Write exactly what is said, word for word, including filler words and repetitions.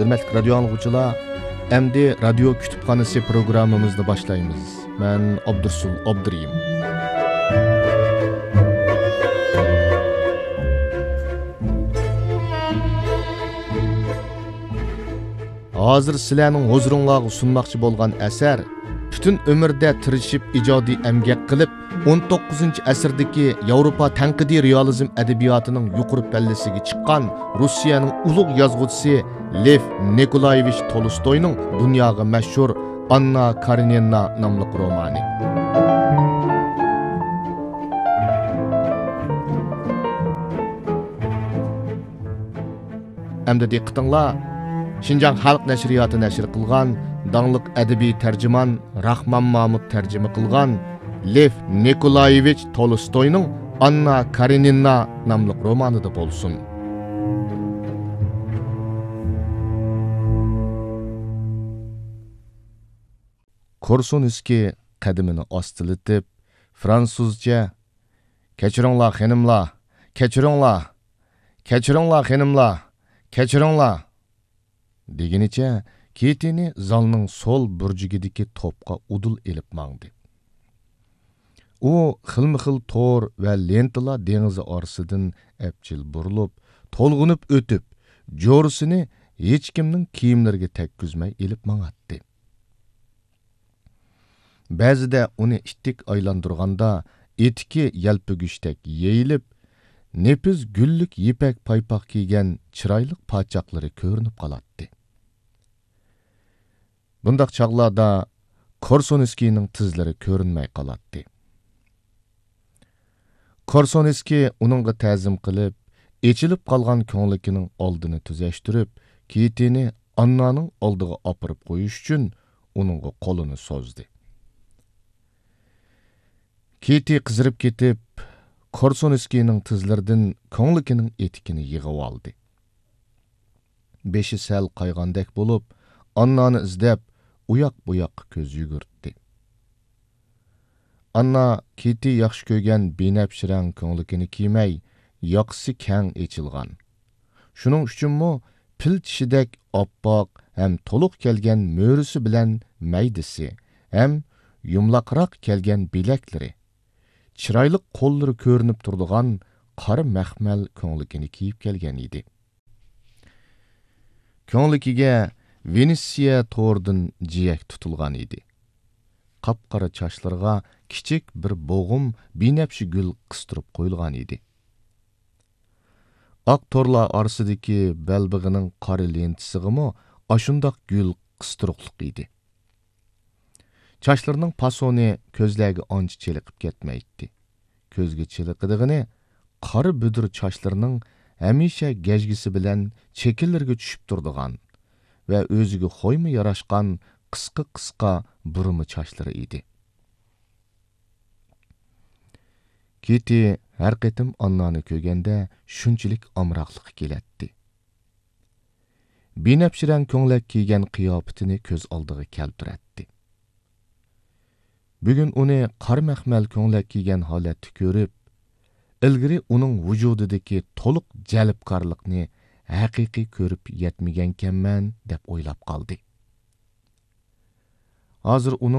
ھۆرمەتلىك رادىيو ئاڭلىغۇچىلار، ئەمدى رادىيو كۇتۇپخانىسى پروگراممىمىزنى باشلايمىز. مەن ئابدۇرۇسۇل ئابدۇرېھىم. ھازىر سىلەرنىڭ ھۇزۇرۇڭلارغا سۇنماقچى بولغان ئەسەر، پۈتۈن ئۆمرىدە تىرىشىپ ئىجادىي ئەمگەك قىلىپ، ئون توققۇزىنچى ئەسىردىكى ياۋروپا تەنقىدىي رېئالىزم ئەدەبىياتىنىڭ يۇقىرى پەللىسىگە چىققان روسىيەنىڭ ئۇلۇغ يازغۇچىسى لېف نىكولايېۋىچ تولستوينىڭ دۇنياغا مەشھۇر ئاننا كارېنىنا ناملىق رومانى. ئەمدى دىققىتىڭلار، شىنجاڭ خەلق نەشرىياتى نەشر قىلغان داڭلىق ئەدەبىي تەرجىمان راخمان مامۇت تەرجىمە قىلغان لېف نىكولايېۋىچ تولستوينىڭ ئاننا كارېنىنا ناملىق رومانىدا بولسۇن. كورسۇنسكىي قەدىمىنى ئاستىلىتىپ، فرانسۇزچە، «كەچۈرۈڭلار، خېنىملار! كەچۈرۈڭلار! كەچۈرۈڭلار، خېنىملار! كەچۈرۈڭلار!» دېگىنىچە كىتىنى زالنىڭ سول بۇرجىكىدىكى توپقا ئۇدۇل ئېلىپ ماڭدى. ئۇ خىلمۇخىل تور ۋە لېنتىلار دېڭىزى ئارىسىدىن ئەپچىل بۇرۇلۇپ، تولغىنىپ ئۆتۈپ، جورىسىنى ھېچكىمنىڭ كىيىملىرىگە تەگكۈزمەي ئېلىپ ماڭاتتى. بەزىدە ئۇنى ئىتتىك ئايلاندۇرغاندا، ئېتىكى يەلپۈگۈچتەك يېيىلىپ، نېپىز گۈللۈك يىپەك پايپاق كىيگەن چىرايلىق پاچاقلىرى كۆرۈنۈپ قالاتتى. بۇنداق چاغلاردا كورسۇنسكىينىڭ تىزلىرى كۆرۈنمەي قالاتتى. كورسۇنسكىي ئۇنىڭغا تەزىم قىلىپ، ئېچىلىپ قالغان كۆڭلىكىنىڭ ئالدىنى تۈزەشتۈرۈپ، كىتىنى ئاننانىڭ ئالدىغا ئاپىرىپ قويۇش ئۈچۈن ئۇنىڭغا قولىنى سوزدى. كىتى قىزىرىپ كېتىپ، كورسۇنسكىينىڭ تىزلىرىدىن كۆڭلىكىنىڭ ئېتىكىنى يىغىۋالدى. بېشى سەل قايغاندەك بولۇپ، ئاننانى ئىزدەپ، ئۇياق-بۇياققا كۆز يۈگۈرتتى. ئاننا كىتى ياخشى كۆرگەن بىنەپشە رەڭ كۆڭلىكىنى كىيمەي، ياقىسى كەڭ ئېچىلغان. شۇنىڭ ئۈچۈنمۇ پىل چىشىدەك ئاپئاق ھەم تولۇق كەلگەن مۈرىسى بىلەن مەيدىسى ھەم يۇمىلاقراق كەلگەن بىلەكلىرى، چىرايلىق قوللىرى كۆرۈنۈپ تۇرىدىغان قارا مەخمەل كۆڭلىكىنى كىيىپ كەلگەن ئىدى. كۆڭلىكىگە ۋېنېتسىيە تورىدىن جىيەك تۇتۇلغان ئىدى. قاپقارا چاچلىرىغا كىچىك بىر بوغۇم بىنەپشە گۈل قىستۇرۇپ قويۇلغان ئىدى. ئاق تورلار ئارىسىدىكى بەلبېغىنىڭ قارا لېنتىسىغىمۇ ئاشۇنداق گۈل قىستۇرۇقلۇق ئىدى. چاچلىرىنىڭ پاسونى كۆزلەرگە ئانچە چېلىقىپ كەتمەيتتى. كۆزگە چېلىقىدىغىنى قارا بۈدۈر چاچلىرىنىڭ ھەمىشە گەجگىسى بىلەن چېكىلىرىگە چۈشۈپ تۇرىدىغان ۋە ئۆزىگە خويمۇ ياراشقان قىسقا-قىسقا بۇرما چاچلىرى ئىدى. كىتى ھەر قېتىم ئاننانى كۆرگەندە شۇنچىلىك ئامراقلىقى كېلەتتى. بىنەپشە رەڭ كۆڭلەك كىيگەن قىياپىتىنى كۆز ئالدىغا كەلتۈرەتتى. بۈگۈن ئۇنى قارا مەخمەل كۆڭلەك كىيگەن ھالەتتە كۆرۈپ، ئىلگىرى ئۇنىڭ ۋۇجۇدىدىكى تولۇق جەلپكارلىقنى ھەقىقىي كۆرۈپ يەتمىگەنكەنمەن، دەپ ئويلاپ قالدى. ھازىر ئۇنىڭ